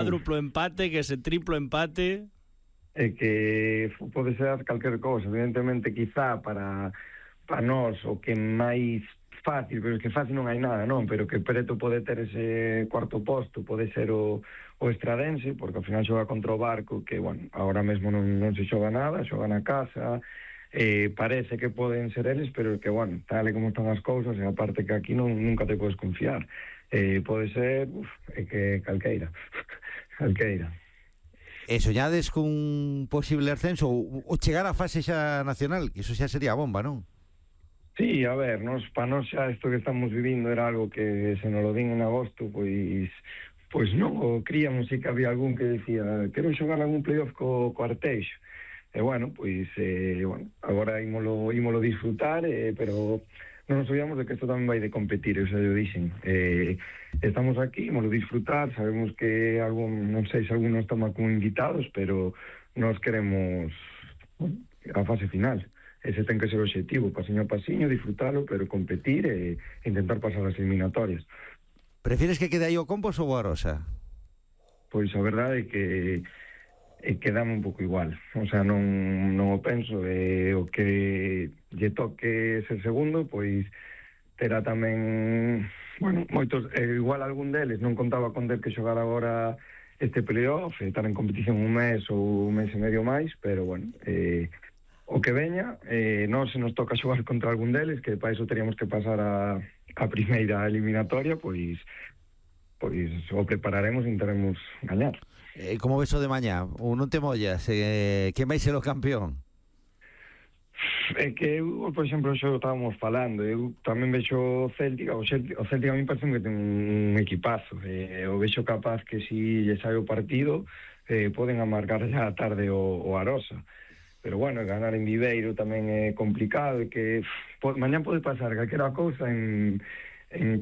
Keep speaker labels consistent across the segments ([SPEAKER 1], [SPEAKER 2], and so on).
[SPEAKER 1] Cuádruplo empate, que ese triplo empate...
[SPEAKER 2] É que pode ser calquer cousa, evidentemente quizá para nós o que máis fácil, pero é que fácil non hai nada, non? Pero que preto pode ter ese cuarto posto, pode ser o Estradense, porque ao final xoga contra o Barco, que, bueno, agora mesmo non se xoga nada, xoga na casa, parece que poden ser eles, pero que, bueno, tal e como están as cousas, e aparte que aquí nunca te podes confiar. Pode ser, que calqueira, calqueira.
[SPEAKER 3] E soñades cun posible ascenso ou chegar á fase xa nacional, que iso xa sería bomba, non?
[SPEAKER 2] Sí, a ver, para nós xa isto que estamos vivindo era algo que se nos lo din en agosto, pois non o críamos, e que había algún que decía quero xogar algún playoff co Arteixo. E bueno, pois agora ímolo disfrutar, pero non nos olvidamos de que isto tamén vai de competir, eu xa yo dixen. Estamos aquí, ímolo disfrutar, sabemos que non sei se algunos estamos como invitados, pero nós queremos a fase final. Ese ten que ser o objetivo, pasiño a pasiño, disfrutalo, pero competir e intentar pasar as eliminatorias.
[SPEAKER 3] Prefires que quede aí o Compos ou o Arosa?
[SPEAKER 2] Pois a verdade é que dame un pouco igual, o sea, non o penso, o que lle toque ser segundo, pois terá tamén, bueno, moitos, igual algún deles non contaba con del que xogar agora este playoff, estar en competición un mes ou un mes e medio máis, pero bueno, o que veña, non se nos toca xogar contra algún deles, que para iso teríamos que pasar a primeira eliminatoria, pois o prepararemos e intentaremos gañar.
[SPEAKER 3] Como ves o de mañá? Ou non te mollas? Quen vai ser o campeón?
[SPEAKER 2] É que eu, por exemplo, xo estábamos falando, eu tamén vexo o Céltica, o Céltica a mí parece que ten un equipazo, o vexo capaz que si lle sai o partido poden amargar xa a tarde o Arosa, pero bueno, ganar en Viveiro tamén é complicado, e que mañá pode pasar calquera cousa en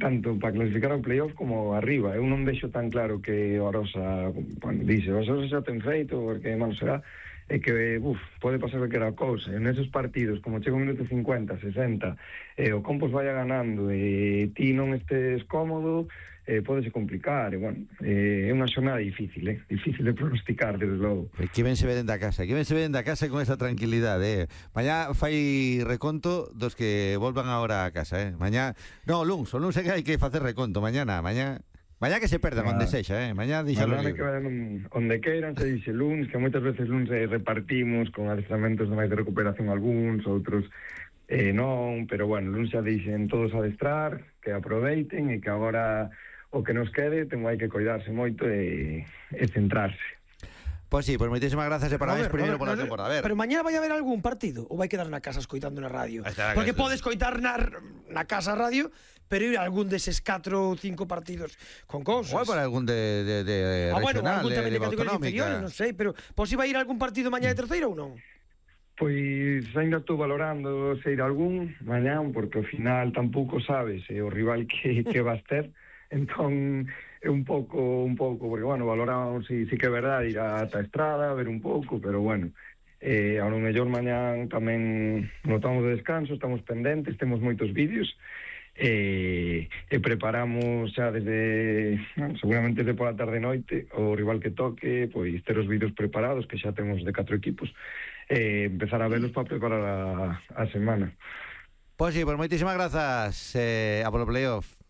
[SPEAKER 2] tanto para clasificar ao playoff como arriba. Eu non vexo tan claro que o Arosa, bueno, dice, o Arosa xa ten feito, porque malo será, é que, pode pasar calquera cousa. En esos partidos, como chega un minuto 50, 60, o Compos vaya ganando e ti non estes cómodo, podese complicar, e, bueno, é unha xornada difícil de pronosticar, desde logo.
[SPEAKER 3] Que ben se veden da casa con esa tranquilidade, Mañá fai reconto dos que volvan agora a casa, Mañá, no, o luns é que hai que facer reconto, mañá que se perdan onde sexa, Mañá deixalo libre.
[SPEAKER 2] Que vayan onde queiran, se dixe luns, que moitas veces luns repartimos con adestramentos máis de recuperación algúns, outros non, pero bueno, luns xa dixen todos a adestrar, que aproveiten, e que agora o que nos quede hai que coidarse moito e centrarse.
[SPEAKER 3] Pois sí, pois moitísimas grazas e parabéns primeiro pola temporada.
[SPEAKER 4] Pero mañá vai haber algún partido ou vai quedar na casa escoitando na radio? Porque podes escoitar na casa a radio, pero ir a algún deses 4 ou 5 partidos con cousas.
[SPEAKER 3] Ou para algún de regional,
[SPEAKER 4] algún tamén de
[SPEAKER 3] autonómica,
[SPEAKER 4] categorías inferiores, non sei, pero pois vai ir a algún partido mañá de terceira ou non?
[SPEAKER 2] Pois ainda estou valorando se ir a algún mañá, porque ao final tampouco sabes o rival que vas ter. Entón é un pouco, porque, bueno, valoramos si que é verdade ir a Estrada, ver un pouco, pero, bueno, a lo mellor mañán tamén notamos de descanso, estamos pendentes, temos moitos vídeos, e preparamos xa desde, seguramente desde pola tarde e noite, o rival que toque, pois ter os vídeos preparados, que xa temos de 4 equipos, empezar a velos para preparar a semana.
[SPEAKER 3] Pois sí, pois moitísimas grazas a polo playoff.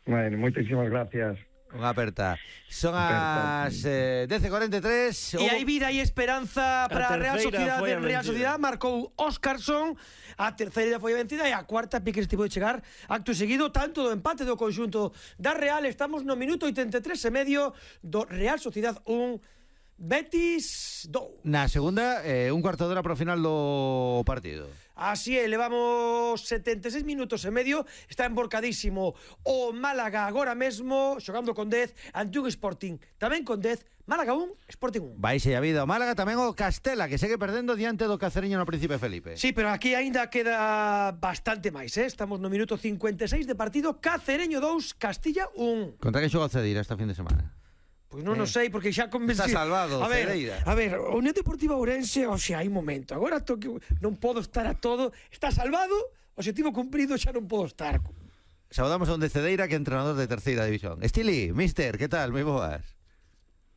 [SPEAKER 2] Bueno, moitísimas gracias.
[SPEAKER 3] Unha aperta. Son as 10:43.
[SPEAKER 4] E hai vida e esperanza para a Real Sociedade. Marcou Óscarson. A terceira foi vencida e a cuarta pique estivo de chegar acto seguido, tanto do empate do conxunto da Real. Estamos no minuto 83 e medio do Real Sociedade 1, Betis 2.
[SPEAKER 3] Na segunda, un cuarto de hora para o final do partido.
[SPEAKER 4] Así é, levamos 76 minutos e medio. Está emborcadísimo o Málaga agora mesmo, xogando con 10 ante un Sporting tamén con 10. Málaga 1, Sporting 1.
[SPEAKER 3] Vaise a vida o Málaga, tamén o Castela, que segue perdendo diante do Cacereño no Príncipe Felipe.
[SPEAKER 4] Sí, pero aquí aínda queda bastante máis, Estamos no minuto 56 de partido. Cacereño 2, Castilla 1.
[SPEAKER 3] Contra que xoga o Cedeira esta fin de semana?
[SPEAKER 4] Pois non sei, porque xa convencí.
[SPEAKER 3] Está salvado, Cedeira.
[SPEAKER 4] A ver, a Unión Deportiva Ourense, hai momento. Agora non podo estar a todo. Está salvado, objetivo cumprido, xa non podo estar.
[SPEAKER 3] Saudamos a un de Cedeira, que é entrenador de terceira división. Estili, mister, que tal? Moi boas.